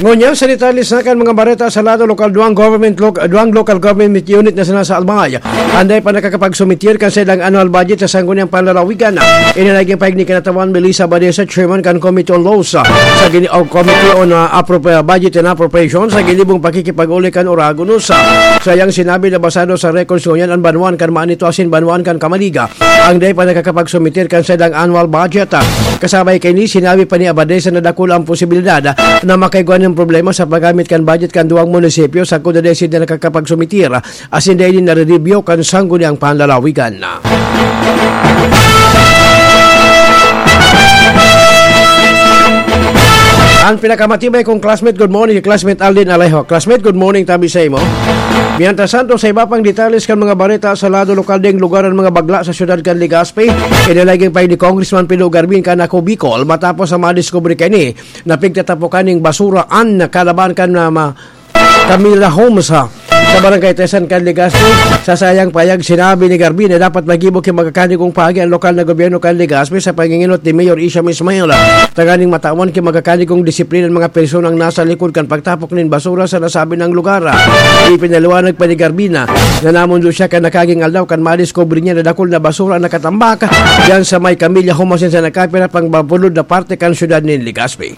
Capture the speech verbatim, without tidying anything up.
Ngunyan, sa detalye sa kan mga bareta sa lado lokal, duwang government lo-, duwang local government unit na sinasaalmay, anday pa nakakapagsumitir kan saindang annual budget sa Sangguniang Panlalawigan. Ini naging pahayag ni Kinatawan Melissa Badesa, chairman kan Committee on Laws, sa gini-, o Committee on, ah, Appropri-, Budget and Appropriations, sa ginibong pakikipag-uli kan Oragon News. Sa iyang sinabi na basado sa records ngunyan, an banwaan kan Manito asin banwaan kan Camaliga ang dai pa nakakapagsumitir kan saindang annual budget. Kasabay kaini, sinabi pa ni Abadesa na dakul ang posibilidad na makaigwa nin problema sa paggamit kan budget kan duwang munisipyo sagkod na dai sinda nakakapagsumitir asin dai nin nare-review kan Sangguniang Panlalawigan. Ang pinakamatibay kong classmate, good morning, classmate Alden Alejo. Classmate, good morning, tabi sa imo. Mientras tanto, sa iba pang detalles kan mga bareta sa lado lokal ding lugar ang mga bagla sa siyudad kan Legazpi, inalaging pay ni Congressman Pino Garbin kan Ako Bicol matapos sa madiskubre kani na pigtatapokan ning basura an kalaban kan, ah, ma-, Camila Homes, ha, sa Barangay Tesan kan Legazpi. Sa sayang payag, sinabi ni Garbin na dapat magibo ki magkakanigong pagi ang lokal na gobyerno kan Legazpi sa panginginot ni Mayor Isham Ismail, tanganing matawan ki magkakanigong disiplina ang mga personang nasa likod kan pagtapok nin basura sa nasabing lugar. Ipinaliwanag pa ni Garbin na nanamondo siya kan nakaging aldaw kan madiskubre niya na dakul na basura ang nakatambak diyan sa may Camila Homes asin sa nakapira pang mapulod na parte kan siyudad nin Legazpi.